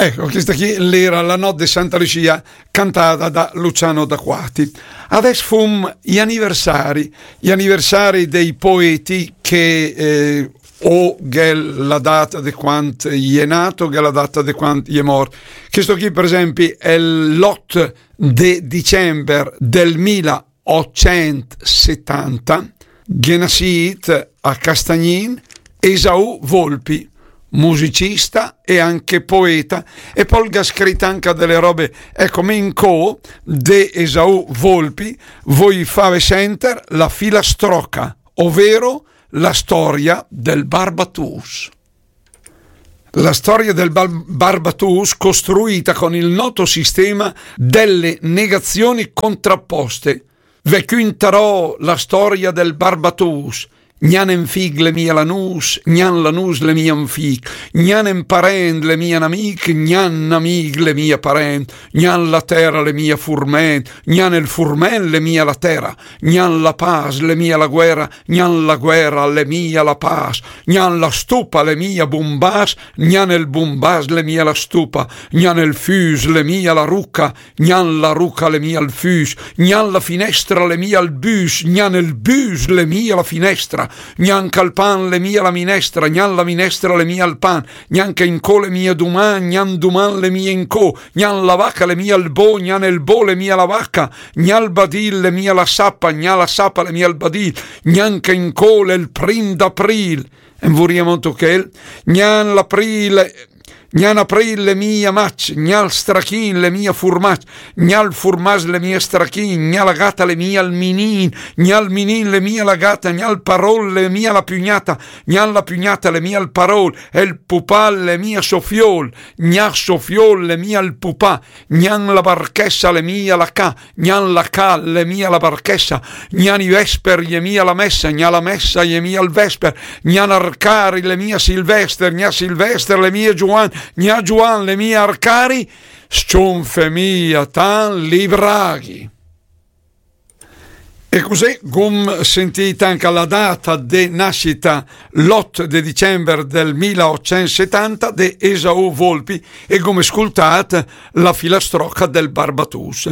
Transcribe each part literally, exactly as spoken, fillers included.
Ecco, questa qui l'era la notte di Santa Lucia, cantata da Luciano D'Aquati. Adesso fum gli anniversari, gli anniversari dei poeti che eh, o che la data di quant è nato, che la data di quant è morto. Questo qui, per esempio, è l'otto di dicembre del mila ottocentsettanta, che nascit a Castagnin Esaù Volpi, musicista e anche poeta, e poi ha scritto anche delle robe, ecco, mi incò de Esaù Volpi, voi fave senter la filastrocca, ovvero la storia del Barbatùs. La storia del Bar- Barbatùs costruita con il noto sistema delle negazioni contrapposte. Ve cüntarò la storia del Barbatùs. Gnan en fig l'è mia la nus, gnan la nus l'è mia en fig, gnan en parent l'è mia en amic, gnan en amic l'è mia parent, gnan la tera l'è mia furment, gnan el furment l'è mia la tera, gnan la pas l'è mia la guera, gnan la guera l'è mia la pas, gnan la stupa l'è mia bumbas, gnan el bumbas l'è mia la stupa, gnan el füs l'è mia la ruca, gnan la ruca l'è mia el füs, gnan la finestra l'è mia el büs, gnan el büs l'è mia la finestra, gnan cal pan l'è mia la minestra, gnan la minestra l'è mia el pan, gnan che incò l'è mia duman, gnan duman l'è mia incò, gnan la vaca l'è mia el bo, gnan el bo l'è mia la vaca, gnan el badil l'è mia la sapa, gnan la sapa l'è mia el badil, gnan che incò l'è el prim d'april. En vurìa mont chel, gnan l'april, gnan april l'è mia mac, gnan strachin l'è mia furmac, gnan furmac l'è mia strachin, gnan la gata l'è mia el minin, gnan minin l'è mia la gata, gnan parol l'è mia la pugnata, gnan la pugnata l'è mia el parol, el pupal l'è mia so fiol, gnan so fiol l'è mia el pupà, gnan la barchessa l'è mia la ca, gnan la ca l'è mia la barchessa, gnan i vesper l'è mia la messa, gnan la messa l'è mia el vesper, gnan Arcari l'è mia Silvester, gnan Silvester l'è mia Giuan, gnan Giuan l'è mia Arcari, s-ciunfe mia tan li braghi. E cusì, gum sentì anca la data de nascita, l'ot de dicember del mila otcent setanta, de Esaù Volpi, e gum scultàt la filastrocca del Barbatùs.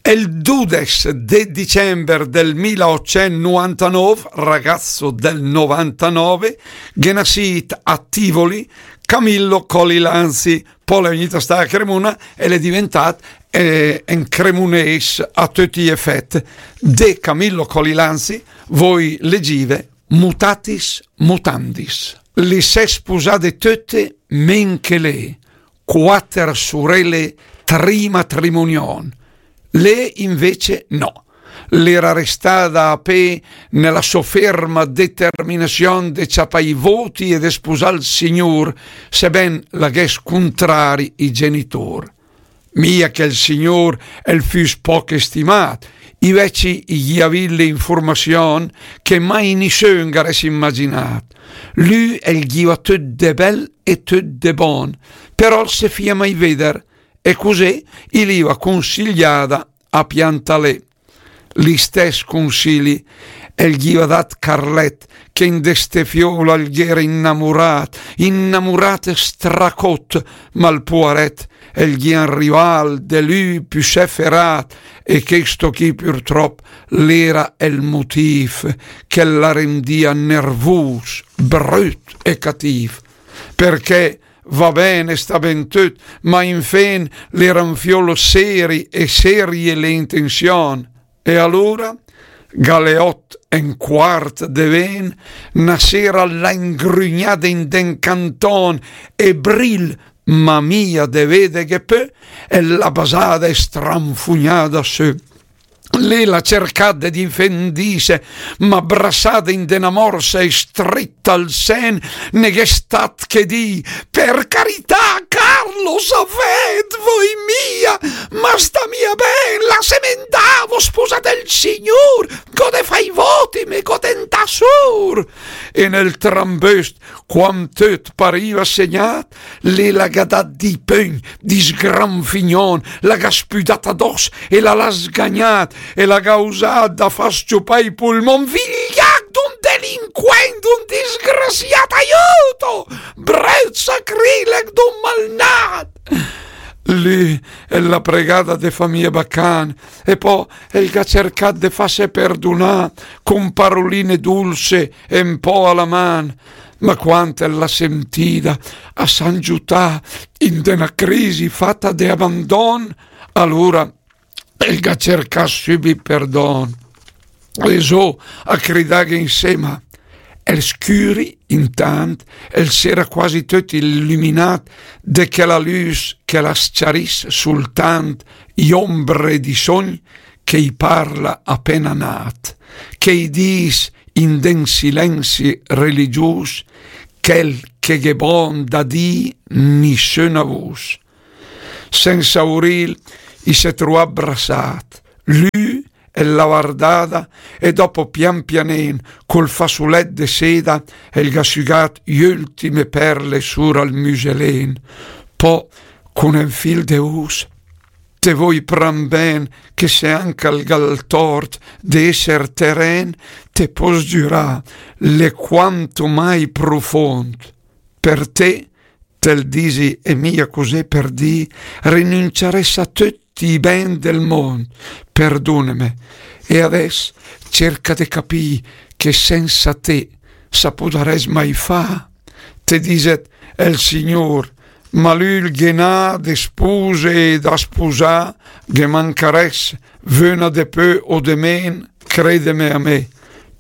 El dudes de dicember del mila otcent novantanov, ragazzo del novantanove, ghe nasìt a Tivoli Camillo Colli Lanzi, pò l'è vegnìt a stà a Cremona e l'è diventàt eh, en cremunés a töcc i efèt. De Camillo Colli Lanzi voi legìve mutatis mutandis. Le s'è spusade töte men che lé, quater surele trimatrimunion. Lé invece no. L'era restada a pé nella so ferma determinazion de ciapà i voti e de spusà el Signur, seben la gh'ès cuntrari i genitur. Mia che el Signur el füs poc stimàt, i veci i gh'ìa vìt le infurmazion che mai nisün gh'arès imaginàt. Lü el gh'ìa töt de bel e töt de bon, però el se fìa mai veder, e cusì i l'ìa cunsigliada a piantà lé. L'istès cunsili el gh'ìa dat Carlet, che in de ste fiol el gh'era innamuràt, innamuràt e stracót, ma el puaret el gh'ìa 'n rival de lü püsé feràt, e chesto chì purtrop l'era el mutìf che la rendìa nervùs, brüt e catìf. Perché va ben, sta ben töt, ma infin l'era 'n fiol seri e serie le intenzion. E alura, ga le ot e 'n quart de ven, na sera l'à ingrügnada in de 'n canton e bril, ma mia de vedeghe pö, e l'à basada e stranfugnada sö. Lé l'à cercàt de difendìse, ma brassada in de na morsa e strita al sen, ne gh'è stat che dì: "Per carità, Carlo, savèt, voi mia, ma sta mia ben, lassem 'ndà, v'ó spusàt el Signur, gh'ó de fà i voti, me gh'ó de 'ndà sur." E nel tramböst, quand töt parìa segnàt, lé la gh'à dat di pögn, di sgranfignon, la gh'à spüdàt adòs e la l'à sgagnàt, e la gh'à usàt da fà s-ciupà i pulmon. Vigliàcc d'un de delinquent, d'un disgrasiàt, aiuto! Bröt sacrileg d'un malnàt! Lü el l'ha pregada de fà mia bacan, e pò el gh'ha cercàt de fàs perdunà cun paroline dulse e un pò a la man. Ma quand el l'ha sentida, a s'ha 'ngiutà in de na crisi fata de abandon, alura el gh'ha cercàt sübit perdon. E zó a cridàghe insema. El scüri, intant, el s'era quasi töt illuminàt de chela lüs che la s-ciarìs sultant i ombre di sogn che i parla apena nat, che i dis in den silenzi religius chel che gh'è bon da dì in nissöna vus. Sensa urìl i s'è truàt brassàt, lü el l'ha vardada e dopo pian pianen col fasulèt de seda el gh'ha sügàt i öltime perle sura al müselen. Pò cun en fil de us: te voi pran ben che se anca el gh'ha 'l tort de esser teren, te pos giürà, l'è quanto mai profond. Per te, te 'l disi e mia cusì per dì, rinunciarès a töcc i ben del mond, perduneme. E adès cerca de capì che sensa te sa pudarès mai fà. Te diset el Signur, ma lü 'l ghe n'ha de spuse e da spusà, ghe mancarès vöna de pö o de men, credeme a me.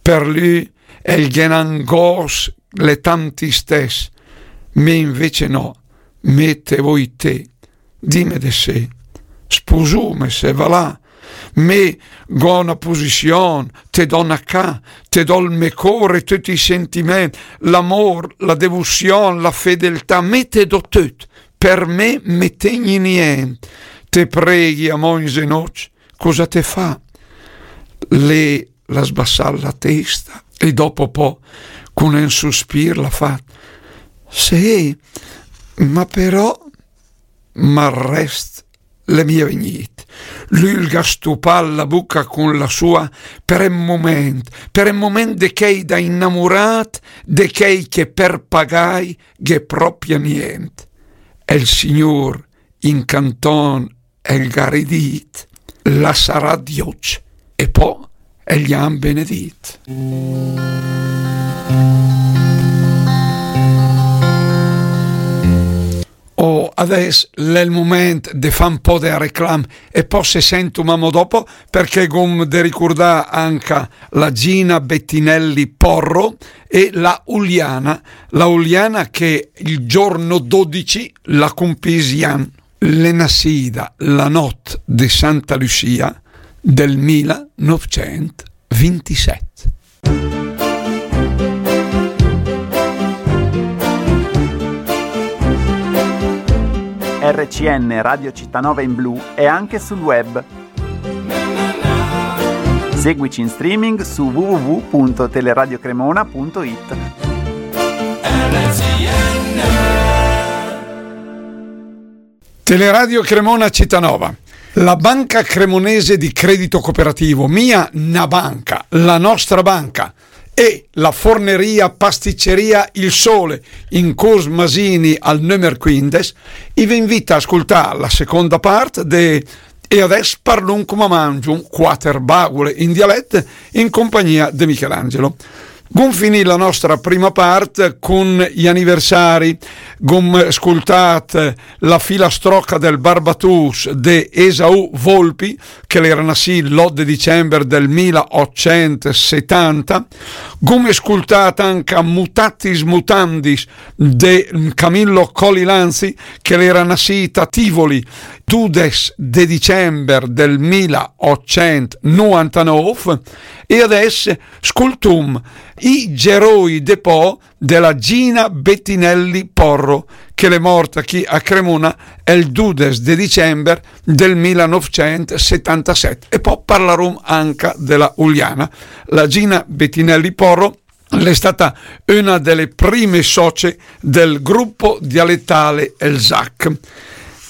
Per lü el ghe n'ha 'n gos, l'è tant istès, me invece no, me te voi te. Dime de se, spusume se, va là. Me gh'ho na pusision, te do na ca, te do 'l me cor e töt i sentiment, l'amor, la devusion, la fedeltà, me te do töt, per me me tegni nient. Te preghi amò in zenoc, cosa te fa? Lü l'ha sbassàt la testa e dopo pò, cun en suspir, l'ha fat: Sé, ma però, ma 'l rest l'è mia vegnìt. Lü 'l gh'ha stupàt la buca cun la sua per en mument, per en mument de chei da innamuràt, de chei che per pagai gh'è propia nient. E 'l Signur in canton el gh'ha ridìt, l'ha saràt i öcc e pò el i ha benedìt. Oh, adès l'è 'l mument de fà un pò de reclam e pò se sentum amò dopo, perché gh'hom de ricurdà anca la Gina Bettinelli Porro e la Uliana, la Uliana che il giorno dodici la cumpìs i ann. L'è nassida la nott de Santa Lucia del mila novcent vintisett. R C N Radio Città Nova in blu è anche sul web. Seguici in streaming su w w w punto teleradiokremona punto it. Teleradio Cremona Città Nova. La Banca Cremonese di Credito Cooperativo, mia na banca, la nostra banca, e la forneria pasticceria Il Sole in Curs Masini al nömer quindes, i ve invita a ascultà la seconda part de E adès parlum cum'è mangium, quater bagule in dialet, in compagnia de Michelangelo. Ghum finì la nostra prima part cun i aniversari. Ghum scultat la filastrocca del Barbatùs de Esaù Volpi, che l'era nassì l'ott de dicember del mila ottcent setanta. Ghum scultat anca Mutatis Mutandis de Camillo Colilanzi, che l'era nassì a Tivoli, dudes de dicember del mila ottcent nuantanov, e adès scultum I geroi de pò de la Gina Bettinelli Porro, che l'è morta chì a Cremona el dudes de dicember del mila novcent setantasett. E pò parlarum anca de la Uliana. La Gina Bettinelli Porro l'è stata una de le prime soce del gruppo dialettale El Zac.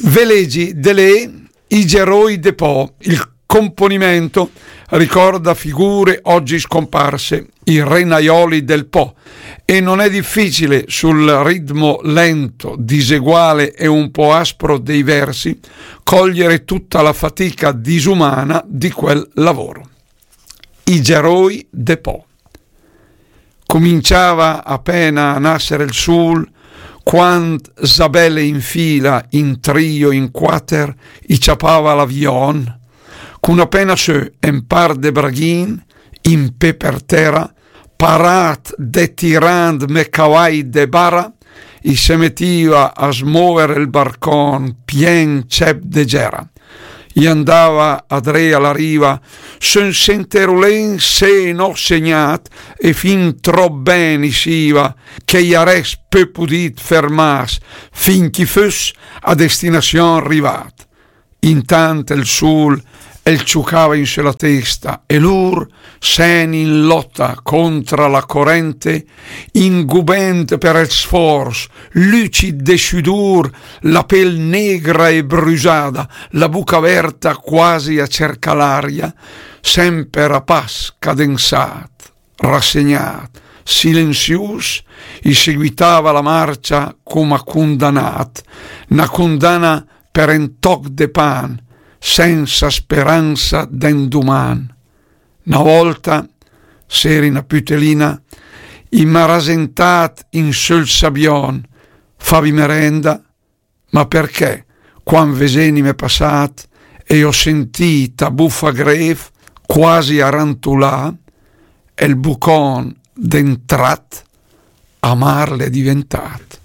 Ve legi de lé I geroi de pò, il componimento ricorda figure oggi scomparse, i renaioli del Po, e non è difficile sul ritmo lento, diseguale e un po' aspro dei versi cogliere tutta la fatica disumana di quel lavoro. I geroi de Po. Cominciava apena a nassere el sul, quand zabele in fila, in trio, in quater, i ciapava l'avion, cun apena sö en par de braghin, in pe per tera, parat de tirand me cavai de bara, i se metiva a smover el barcon pien cep de gera. I andava adré a la riva, sen senterulen se no segnat, e fin trop ben i siva, che i arès pö pudit fermas, fin ch'i fös a destinasion rivat. Intant el sul el ciucava in sö la testa, e lur, sen in lota contra la corente, ingubent per el sfors, lucid de sudur, la pel negra e brusada, la buca verta quasi a cerca l'aria, semper a pas cadensat, rassegnat, silenzius, i seguitava la marcia coma cundanat, na cundana per en toc de pan, sensa speransa d'enduman. Na volta, s'eri na putelina, i m'ha rasentat in söl sabion, favi merenda, ma perché, quand vesenime pasat, e ho sentit a bufa gref, quasi a rantulà, el bucon d'entrat, amar l'è diventat.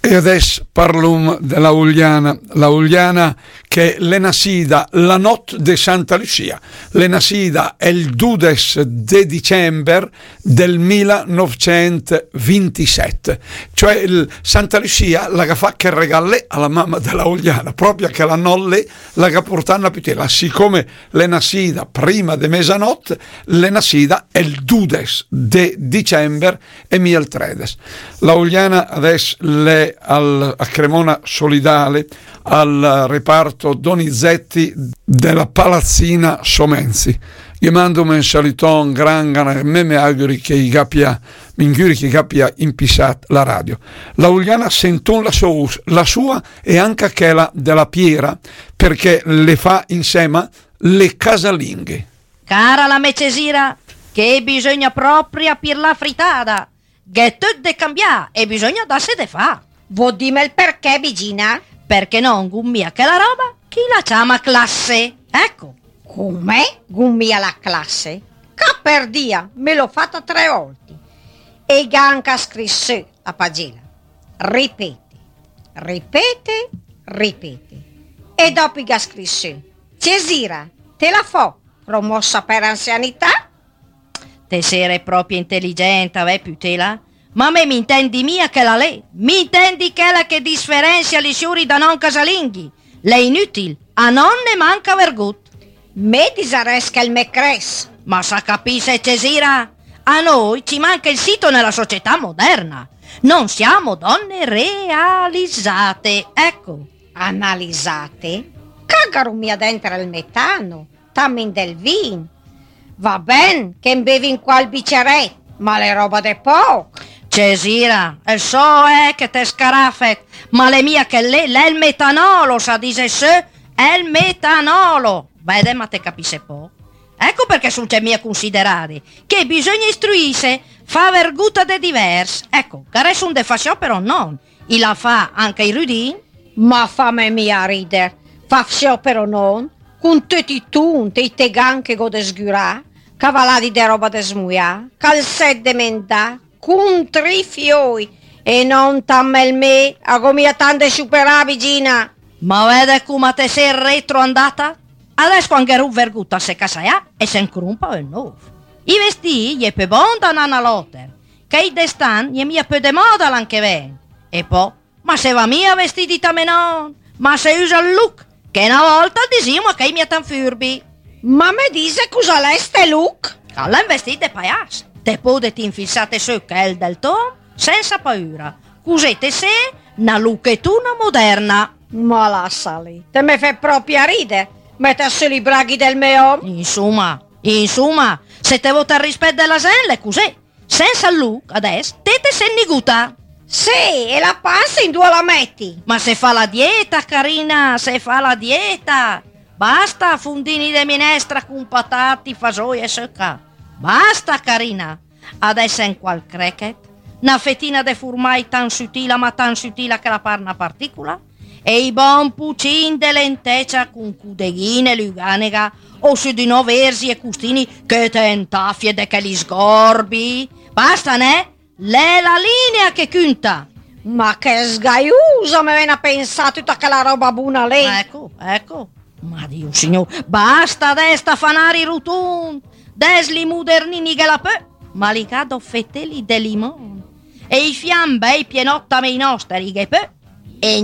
E adess parlum de la Uliana. La Uliana che l'è nassida la not de Santa Lucia. L'è nassida el dudes de dicember del mila novcent vintisett. Cioè, il, Santa Lucia la ga fa che regal a la mama de la Uliana, propria che la not lé la ga purtà na pütela, sicome l'è nassida prima de mesanot, l'è nassida el dudes de dicember e mia el tredes. La Uliana adess l'è al, a Cremona Solidale, al reparto Donizetti de la Palazzina Somenzi. Ghe mandum en saluton gran, gran, me, me auguri che i gapia, m'inguri che i gapia impisat la radio. La Uliana sentum la sua, la sua e anca chela de la Piera, perché le fa insema le casalinghe. Cara la me Cesira, che bisogna propria pirlà fritada, gh'è töt de cambià e bisogna dasse de fà. Vo dime el perché, Bigina? Perché non gh'hum mia chela roba che i la ciama classe. Ecco. Come? Gh'hum mia la classe? Caperdia, me l'ho fata tre volti. E i gh'ha anca scrit sö a pagela. Ripete, ripete, ripete. E dopo i gh'ha scrit sö: Cesira, te la fo, promossa per anzianità? Te sere propria inteligenta, vè, pütela? Ma me m'intendi mia chela lé, m'intendi chela che disferenzia li siuri da non casalinghi. L'è inütil, a non ne manca vergut. Me disaress che el me cress. Ma sa capisse, Cesira, a noi ci manca il sito nella società moderna. Non siamo donne realizzate, ecco. Analizate? Cagaru mia denter el metano. Tamin del vin. Va ben che 'n bevin qual biceret, ma l'è roba de poch. Cesira, el so, eh, che te scarafet, ma l'è mia chel lé, l'è el metanolo, sa dise sö, el metanolo. Vede, ma te capisse poch. Ecco perché sun mia considerade, che bisogna istruisse, fa verguta de divers. Ecco, gh'aressun de fà sciopero non, i la fa anca i rüdin. Ma fame mia rider, fa sciopero non, cun töt i tunt e i tegan che gh'ho de sgurà, cavaladi de roba desmuià, calzet demendà, cun tri fioi, e non tant mel me, a gh'ho mia tant de sciuperà, Bigina. Ma vede coma te se retroandata? Adess quand gh'è rut vergut a se casaià e se 'n crumpa ün nov. I vestì i è pö bon da nà a l'oter, chei d'estan i è mia pö de moda l'an che ven. E po, ma se va mia vestidi tame non, ma se üsa el look, che na volta el disìum a chei mia tant furbi. Ma me dise cusa l'è ste look? Al è ün vestì de paias, te podet infilsate sö chel del tom sensa paüra, cusì te see na luchetuna moderna. Ma lassa lé, te me fé pròpe ride, mèt sö i braghi del mé òm. Insuma, insuma, se te vöt ol rispèt de la zènt, l'è cusé. Sènsa 'l lüc, adès, te te sét niguta. Sé, e la pansa indua la mèti? Ma se fa la dieta, carina, se fa la dieta. Basta fundini de minestra cun patati, fasoi e söca. Basta, carina. Adès en qual crèchet, na fetina de furmai tant sutila, ma tant sutila che la par na particula, e i bon pucin de lentècia cun cudeghine, lüganega, o sö di nò verzi e custini che te 'ntafie de chèli sgorbi. Basta, nè? L'è la linea che cünta. Ma che sgaiusa, me vèn a pensà tüta chèla ròba buna lé. Ecco, ecco. Ma Dio Signùr, basta de sta fanari rutund. Adès i mudernini i ghe la pö, ma i gh'à dò fetéli de limon. E i fiam bèi pienòt, ma i nòster i ghe pö.